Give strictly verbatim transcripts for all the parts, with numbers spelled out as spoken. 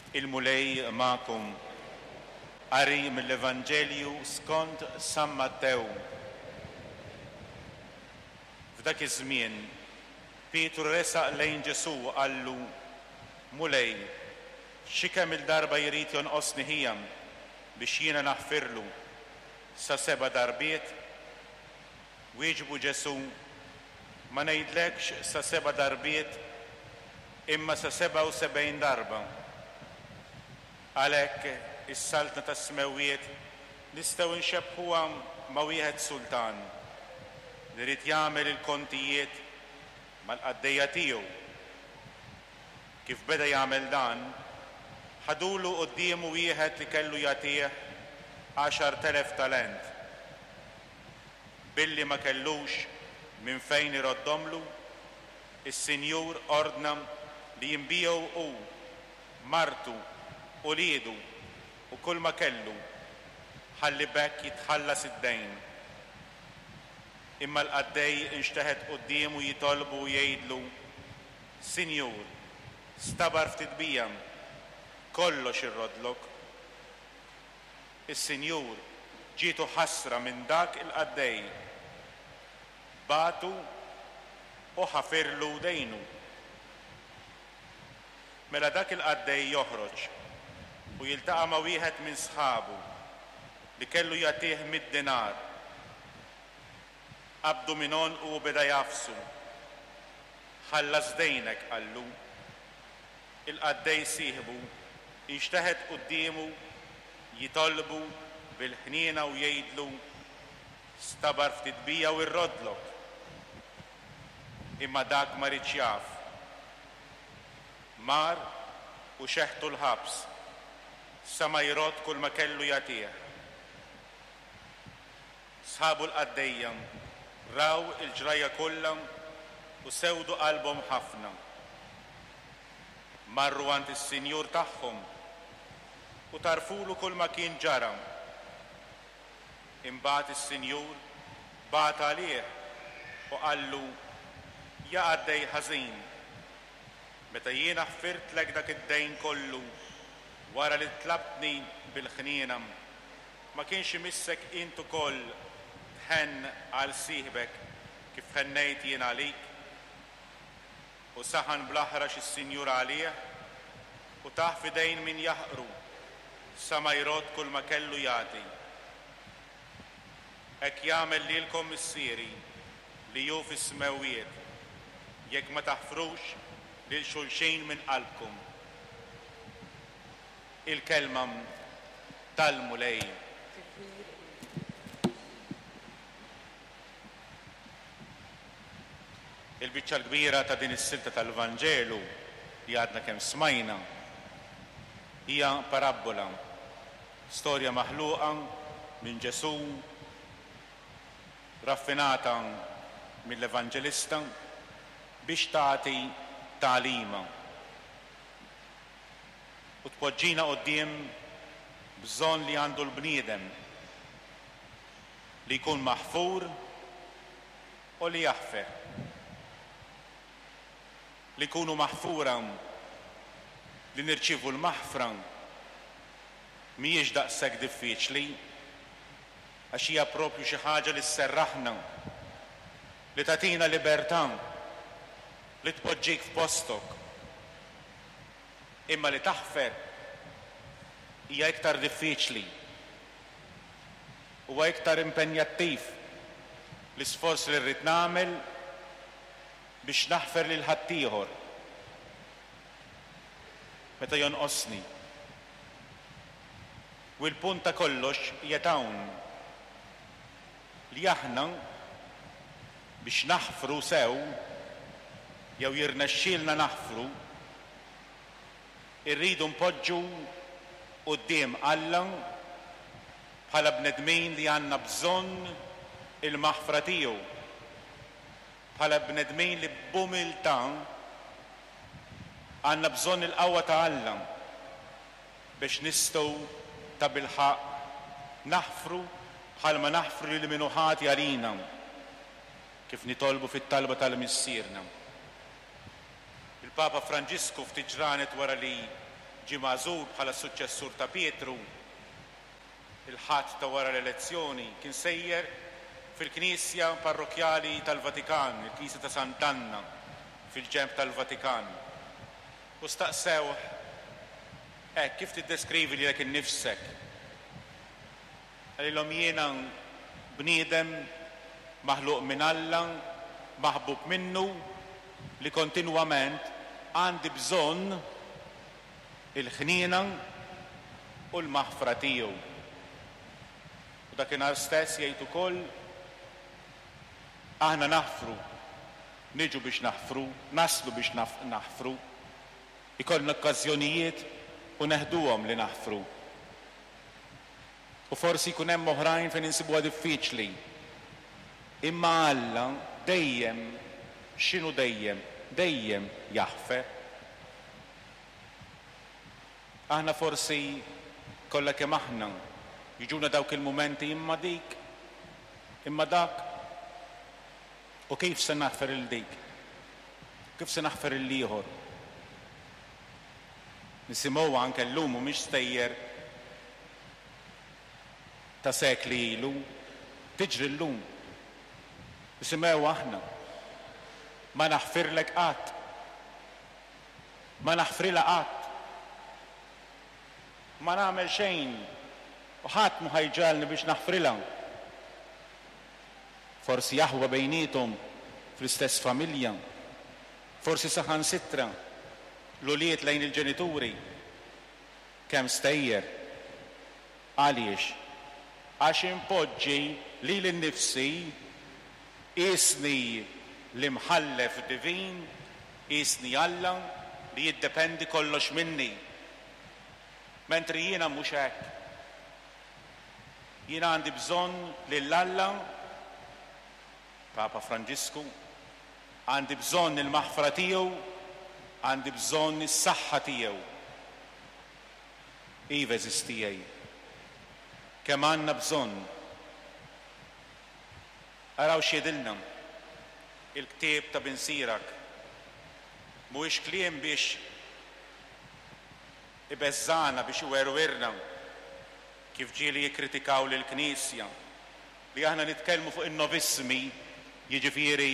Il-Mulej magħkom. Qari mill-Evanġelju skont San Mattew. F'dak iż-żmien, Pietru resaq lejn Ġesù u qallu, Mulej, xi kemm il-darba jrid jonqosni ħija biex jiena naħfirlu? Sa seba' darbiet? Wieġbu Ġesù, Ma ngħidlekx sa seba' darbiet, imma sa sebgħa u sebgħin darba. Għalhekk is-saltna tas-smewwiet nistgħu nxebbħuha ma' wieħed sultan li ried jagħmel il-kontijiet mal-qaddejja tiegħu. Kif beda jagħmel dan, ħadulu quddiemu wieħed li kellu jagħtih għaxart elef talent. Billi ma kellux minn fejn iroddhomlu, is-sinjur ordna li jinbiegħu hu, martu, uliedu u kulma kellu, ħalli b'hekk jitħallas id-dejn. Imma l-qaddej inxteħet quddiemu jitolbu u jgħidlu, Sinjur, stabar ftit bija, kollox irroddlok. Is-sinjur ġietu ħasra minn dak il-qaddej, bagħtu u ħafirlu dejnu. Mela dak il-qaddej joħroġ u jiltaqa' ma' wieħed minn sħabu li kellu jagħtih mitt dinar. Qabdu minn għonqu u beda jagħfsu. Ħallas dejnek, qallu. Il-qaddej sieħbu inxteħet quddiemu jitolbu bil-ħniena u jgħidlu, Stabar ftit bija u rroddlok. Imma dak ma riedx jaf. Mar u xeħtu l-ħabs sa ma jrodd kull ma kellu jagħtih. Sħabu l-qaddejja raw il-ġrajja kollha u sewdu qalbhom ħafna. Marru għand is-sinjur tagħhom u tarfulu kull ma kien ġara. Imbagħad is-sinjur bagħat għalih u qallu, Ja qaddej ħażin, meta jiena ħfirtlek dak id-dejn kollu wara li tlabtni bil-ħniena, ma kienx imissek int ukoll tħenn għal sieħbek kif ħennejt jien għalik? U saħan bl-aħrax is-sinjur għalih u tah f'idejn min jaħqru sa ma jrodd kull ma kellu jagħti. Hekk jagħmel lilkom Missieri li hu fis-smewwiet, jekk ma taħfrux lil xulxin minn qalbkom. Il-kelma tal-Mulej. Il-biċċa l-kbira ta' din is-silta tal-Vanġelu li għadna kemm smajna hija parabbola, storja maħluqa minn Ġesù, raffinata mill-Evanġelista biex tagħti tagħlima u tpoġġina quddiem bżonn li għandu l-bniedem li jkun maħfur u li jaħfer. Li nkunu maħfura, li nirċievu l-maħfra, mhijiex daqshekk diffiċli, għax hija proprju xi ħaġa li sserraħna, li tagħtina libertà, li tpoġġik f'postok. Imma li taħfer hija iktar diffiċli. Huwa iktar impenjattiv l-isforz li rrid nagħmel biex naħfer lil ħaddieħor meta jonqosni. U l-punt ta' kollox qiegħed hawn, li aħna biex naħfru sew jew jirnexxielna naħfru, irridu npoġġu quddiem Alla bħala bnedmin li għandna bżonn il-maħfra tiegħu, bħala bnedmin li b'umiltà għandna bżonn il-qawwa ta' Alla biex nistgħu tabilħaqq naħfru bħalma naħfru lil min hu ħati għalina, kif nitolbu fit-talba tal-Missierna. Il-Papa Franġisku ftit ġranet wara li ġie magħżul bħala suċċessur ta' Pietru, il-Ħadd ta' wara l-elezzjoni, kien sejjer fil-Knisja Parrokkjali tal-Vatikan, il-Knisja ta' Sant'Anna, fil-ġenb tal-Vatikan. U staqsewh, hekk, kif tiddeskrivi lilek innifsek? Qalilhom, jiena bniedem maħluq minn Alla, maħbub minnu, li kontinwament għandi bżonn il-ħniena u l-maħfra tiegħu. U dakinhar stess jgħid ukoll, aħna naħfru, niġu biex naħfru, naslu biex naħfru, ikollna okkażjonijiet u neħduhom li naħfru. U forsi jkun hemm oħrajn fejn insibuha diffiċli. Imma Alla dejjem, x'inhu dejjem? Dejjem jaħfer. Aħna forsi kollha kemm aħna jiġuna dawk il-mumenti, imma dik, imma dak, u kif se naħfer il dik? Kif se naħfer il ieħor? Nisimgħu anke llum, mhumiex stejjer ta' sekli ilu, tiġri llum. Nisimgħu aħna. Ma naħfirlek qatt. Ma naħfrilha qatt. Ma nagħmel xejn u ħadd mhu ħa jġagħalni biex naħfrilha. Forsi aħwa bejniethom fl-istess familja, forsi saħansitra l-ulied lejn il-ġenituri. Kemm stejjer. Għaliex? Għax impoġġi lili nnifsi isni l-imħallef divin, isni Alla li jiddependi kollox minni. Mentri jiena mhux hekk. Jiena għandi bżonn lil Alla, Papa Franġisku, għandi bżonn il-maħfra tiegħu, għandi bżonn is-saħħa tiegħu. Iva, għeżież tiegħi, kemm għandna bżonn. Araw x'jgħidilna il-ktieb ta' Bin Sirak. Mhuwiex kliem biex ibeżżana, biex iwerwirna, kif ġieli jikkritikaw lill-Knisja, li aħna nitkellmu fuq in-novismi, jiġifieri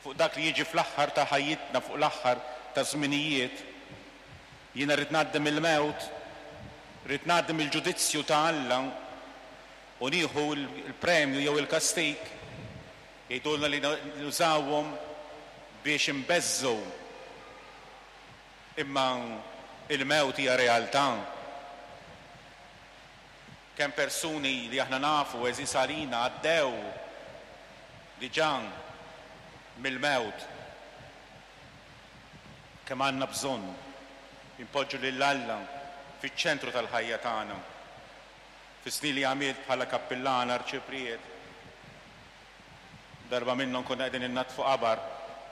fuq dak li jiġi fl-aħħar ta' ħajjitna, fuq l-aħħar ta' żminijiet. Jiena rrid ngħaddi mill-mewt, rrid ngħaddi mill-ġudizzju ta' Alla u nieħu l-premju jew il-kastik. Jgħidulna li nużawhom biex imbeżżu. Imma il-mewt hija realtà. Kemm persuni li aħna nafu għeżież għalina għaddew diġà mill-mewt. Kemm għandna bżonn impoġġu lil Alla fiċ-ċentru tal-ħajja tagħna. Fis-snin li għamilt bħala kappillan arċipriet, darba minnhom konna qegħdin innaddfu qabar,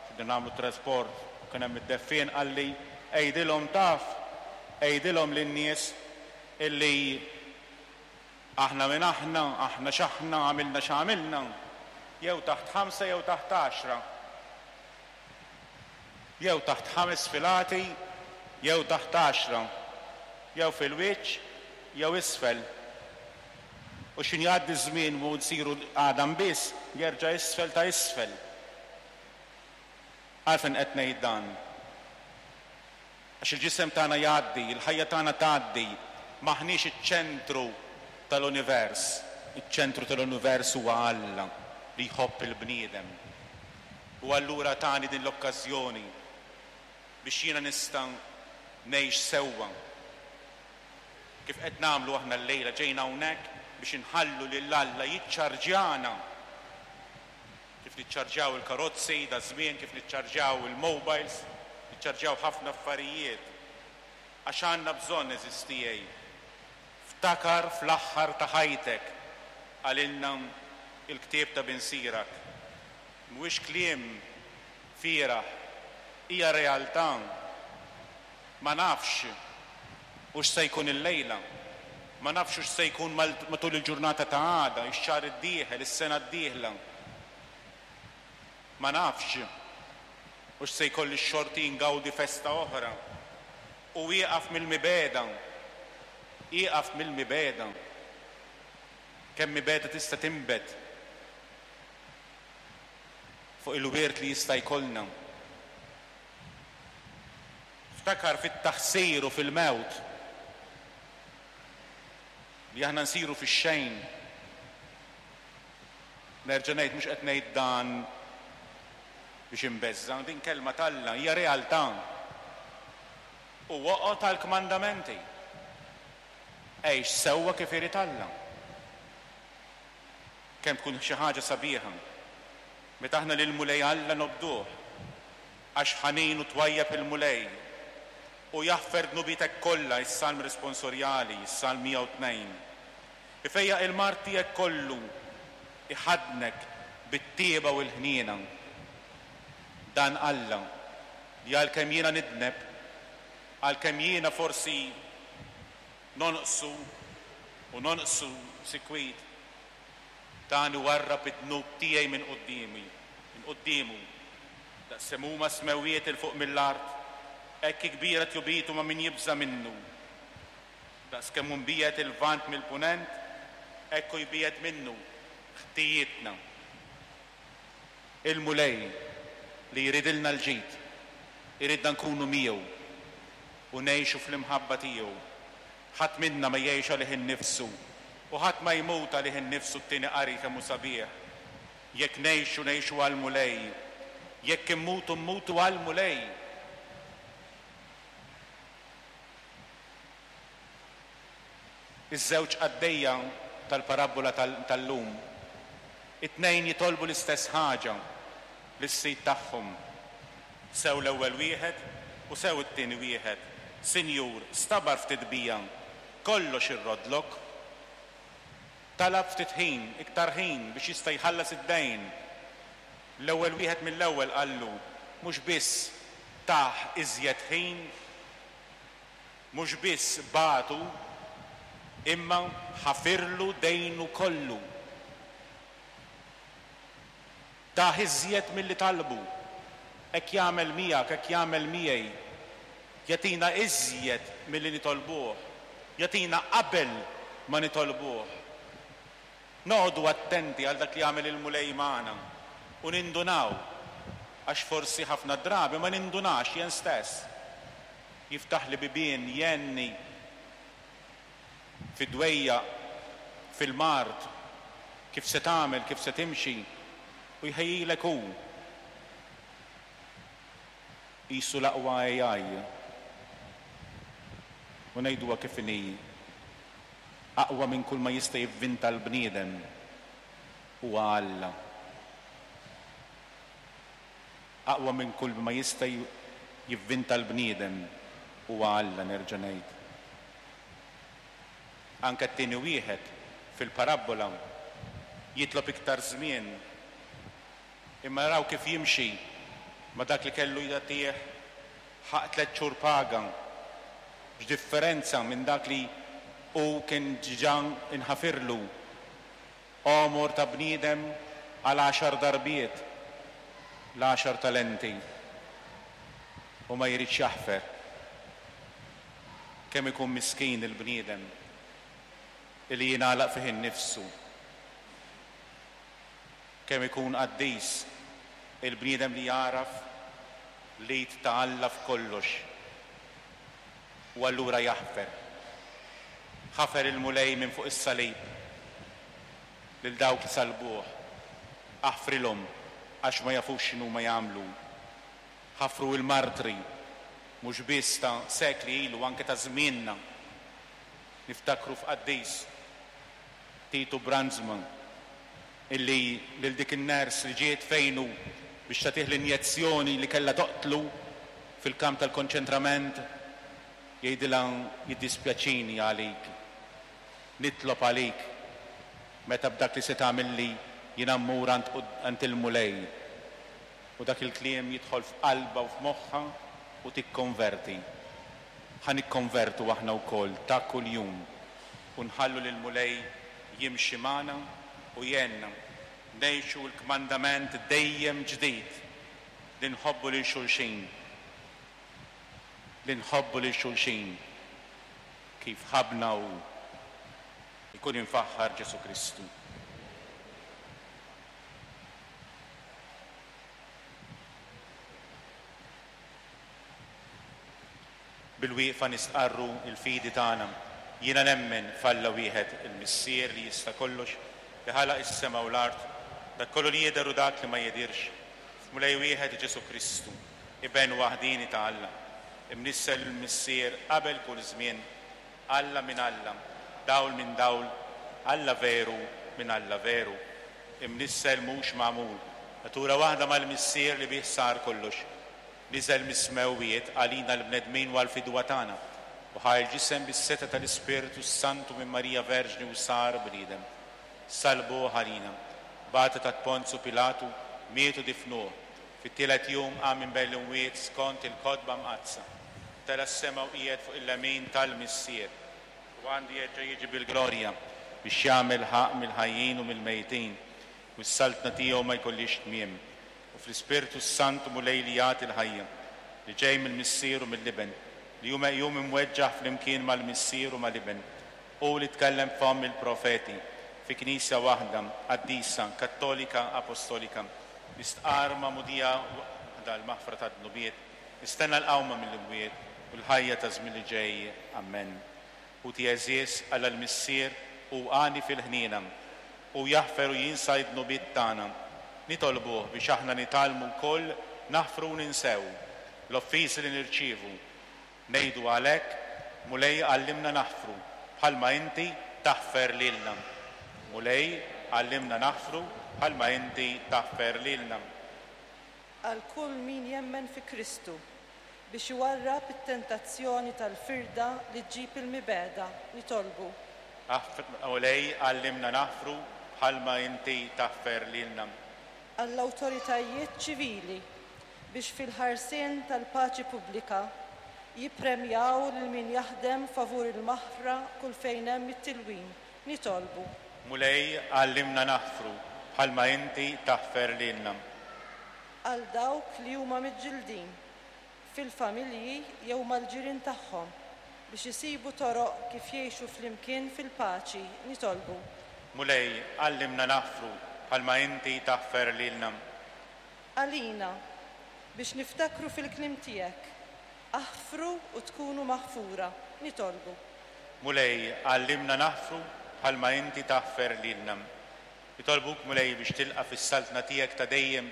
qegħdin nagħmlu trasport, kien hemm id-deffien, qalli, għidilhom taf, għidilhom lin-nies illi aħna minn aħna, aħna x'aħna, għamilna x'għamilna, jew taħt ħamsa jew taħt għaxra, jew taħt ħames filati jew taħt għaxra, jew fil-wiċċ jew isfel. U x'ħin jgħaddi żmien u nsiru għadam biss, jerġa' isfel ta' isfel. Għalfejn qed ngħid dan? Għax il-ġisem tagħna jgħaddi, il-ħajja tagħna tgħaddi, m'aħniex iċ-ċentru tal-univers. Iċ-ċentru tal-univers huwa Alla li jħobb il-bniedem. U allura tani din l-okkażjoni biex jiena nista' ngħix sewwa. Kif qed nagħmlu aħna llejla, ġejna hawnhekk biex inħallu lil Alla jiċċarġjana. Kif niċċarġjaw il-karozzi da żmien, kif niċċarġjaw il-mobiles, niċċarġjaw ħafna affarijiet. Għax għandna bżonn, għeżież tiegħi. Ftakar fl-aħħar ta' ħajtek, qalilna il-ktieb ta' Bin Sirak. Mhuwiex kliem fieragħ, hija realtà. Ma nafx hux se jkun illejla, ma nafx hux se jkun matul il-ġurnata ta' għada, ix-xahar id-dieħel, is-sena d-dieħla. Ma nafx hux se jkolli x-xorti ngawdi festa oħra. U ieqaf mill-mibegħda, ieqaf mill-mibegħda. Kemm mibegħda tista' tinbet fuq il-wirt li jista' jkollna. Ftakar fit-taħsir u fil-mewt li aħna nsiru fix-xejn. Nerġa' ngħid, mhux qed ngħid dan biex inbeżża', din kelma t'Alla hija realtà. U oqgħod għall-kmandamenti. Għix sewwa kif irid Alla. Kemm tkun xi ħaġa sabiħa meta aħna lill-Mulej Alla nobduh, għax ħanin u twajjeb il-Mulej u jaħfer dnubietek kollha, is-Salm responsorjali, is-Salm mija u tnejn. Ifejjaq il-mard tiegħek kollu, iħaddnek bit-tieba u l-ħniena. Dan Alla li għalkemm jiena nidneb, għalkemm jiena forsi nonqsu u nonqsu sikwit, dan iwarrab id-dnub tiegħi minn quddiemi, minn quddiemu. Daqs huma s-smewwiet 'il fuq mill-art, hekk kbira tjubitu ma' min jibża' minnu. Daqs kemm hu mbiegħed il-Lvant mill-Punent, hekk hu jbiegħed minnu ħtijietna. Il-Mulej li jridilna l-ġid, iridna nkunu miegħu u ngħixu fl-imħabba tiegħu. Ħadd minna ma jgħix għalih innifsu u ħadd ma jmut għalih innifsu, t-tieni qari kemm hu sabiħ. Jekk ngħixu, ngħixu għall-Mulej. Jekk immutu, mmutu għall-Mulej. Iż-żewġ qaddejja tal-parabbola tal-lum, it-tnejn jitolbu l-istess ħaġa lis-sid tagħhom. Sew l-ewwel wieħed u sew it-tieni wieħed. Sinjur, stabar ftit bija, kollox irrodlok. Talab ftit ħin, iktar ħin biex jista' jħallas id-dejn. L-ewwel wieħed mill-ewwel qallu, mhux biss tah iżjed ħin, mhux biss bagħtu, imma ħafirlu dejnu kollu. Tah iżjed milli talbu. Hekk jagħmel miegħek, hekk jagħmel miegħi. Jagħtina iżjed milli nitolbuh. Jagħtina qabel ma nitolbuh. Noqogħdu attenti għal dak li jagħmel il-Mulej magħna u nindunaw, għax forsi ħafna drabi ma nindunax jien stess. Jiftaħ li bibien, jenni fid-dwejja, fil-mard, kif se tagħmel, kif se timxi, u jħejjilek hu. Qisu l-aqwa A I. U ngħiduha kif inhi, aqwa minn kull ma jista' jivvinta l-bniedem huwa Alla. Aqwa minn kull ma jista' jivvinta l-bniedem huwa Alla, nerġa' ngħid. Anke t-tieni wieħed fil-parabbola jitlob iktar żmien, imma raw kif jimxi ma dak li kellu jagħtih ħaq tliet xhur paga. X'differenza minn dak li hu kien ġa inħafirlu. Għomor ta' bniedem għal għaxar darbiet l-għaxar talenti u ma jridx jaħfer. Kemm ikun miskin il-bniedem li jingħalaq fih innifsu. Kemm ikun qaddis il-bniedem li jagħraf l-id ta' Alla f'kollox u allura jaħfer. Ħafer il-Mulej minn fuq is-salib lil dawk li salbuh. Aħfrilhom għax ma jafux x'inhu ma jagħmlu. Ħafru l-martri mhux biss ta' sekli ilu, anke ta' żmienna. Niftakru f'qaddis Titu Brandsma illi lil dik in-ners li ġiet fejnu biex tagħtih l-injezzjoni li kellha toqtlu fil-kamp tal-konċentrament, jgħidilha jiddispjaċini għalik, nitlob għalik meta b'dak li se tagħmilli jiena mmur għand il-Mulej. U dak il-kliem jidħol f'qalbha u f'moħħha u tikkonverti. Ħa nikkonvertu aħna wkoll ta' kuljum u nħallu lill-Mulej jimxi magħna u jgħinna ngħixu l-kmandament dejjem ġdid li nħobbu lil xulxin. li nħobbu lil xulxin kif ħabbna hu. Ikun imfaħħar Ġesù Kristu. Bil-wieqfa nistqarru il-fidi tagħna. Jiena nemmen f'Alla wieħed, il-Missier li jista' kollox, li ħalaq is-sema u l-art, dak kollu li jidher u dak li ma jidhirx, f'Mulej wieħed Ġesù Kristu, iben waħdini ta' Alla, imnissel il-Missier qabel kull żmien, Alla minn Alla, dawl minn dawl, Alla veru minn Alla veru, imnissel mhux magħmul, natura waħda mal-Missier li bih sar kollox, niżel mis-smewwiet għalina l-bnedmin u għall-fidwa tagħna, u ħa l-ġisem bis-setgħa tal-Ispirtu Santu minn Marija Verġni u sar bniedem. Salbuh għalina, bata ta' Ponzu Pilatu, miet u difnuh, fit-tielet jum qam minn bejn l-imwiet skont il-kotba mqaddsa. Tela' s-sema u qiegħed fuq il-lemin tal-Missier, u għandu jerġa' jiġi bil-glorja biex jagħmel ħaqq mill-ħajjin u mill-mejtin, u s-saltna tiegħu ma jkollhiex tmiem. U fl-Ispirtu Santu Mulej li jagħti l-ħajja, li ġej mill-Missier u mill-Iben, li hu meqjum imweġġaħ flimkien mal-Missier u mal-Iben, u li tkellem fomm il-profeti, fi Knisja waħda, qaddisa, kattolika, apostolika, nistqarr magħmudija waħda l-maħfra tad-dnubiet, nistenna l-qawma mill-imwiet u l-ħajja ta' żmien li ġej. Amen. Ħuti għeżież, Alla l-Missier hu għani fil-ħniena, u jaħfer u jinsa d-dnubiet tagħna. Nitolbuh biex aħna nitgħallmu wkoll naħfru u ninsew l-offiżi li nirċievu. Ngħidu għalhekk, Mulej għallimna naħfru bħalma inti taħfer lilna. Mulej għallimna naħfru bħalma inti taħfer lilna. Għal kull min jemmen fi Kristu biex iwarrab it-tentazzjoni tal-firda li ġġib il-mibegħda, nitolbu. Mulej għallimna naħfru bħalma inti taħfer lilna. Għall-awtoritajiet ċivili biex fil-ħarsien tal-paċi pubblika jippremjaw lil min jaħdem favur il-maħfra kull fejn hemm it-tilwim, nitolbu. Mulej għallimna naħfru bħalma inti taħfer lilna. Għal dawk li huma miġġildin fil-familji jew mal-ġirien tagħhom biex isibu toroq kif jgħixu flimkien fil-paċi, nitolbu. Mulej għallimna naħfru bħalma inti taħfer lilna. Għalina biex niftakru fil-kliem tiegħek, aħfru u tkunu maħfura, nitolbu. Mulej għallimna naħfru bħalma inti taħfer lilna. Nitolbuk Mulej biex tilqa' fis-saltna tiegħek ta' dejjem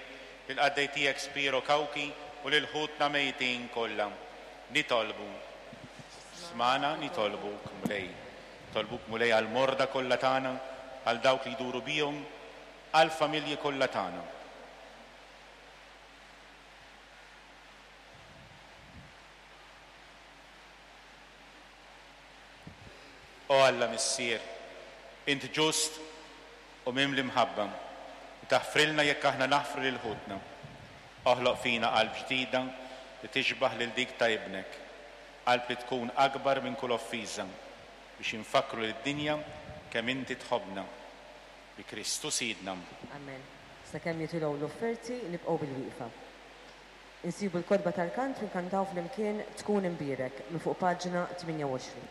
lil-qaddej tiegħek Spiro Cauchi u lil ħutna mejtin kollha. Nitolbu. Smana nitolbuk Mulej. Nitolbuk Mulej għall-morda kollha tagħna, għal dawk li jduru bihom, għall-familji kollha tagħna. O Alla Missier, int ġust u mimli mħabba, u taħfrilna jekk aħna naħfru lil ħutna. Oħloq fina qalb ġdida li tixbaħ lil dik ta' ibnek, qalb li tkun akbar minn kull offiża, biex infakkru lid-dinja kemm inti tħobbna. Bi Kristu Sidna. Amen. Sakemm jitilgħu l-offerti nibqgħu bil-wieqfa. Insibu l-kotba tal-kant u nkantaw flimkien Tkun Imbierek minn fuq paġna tmienja u għoxrin.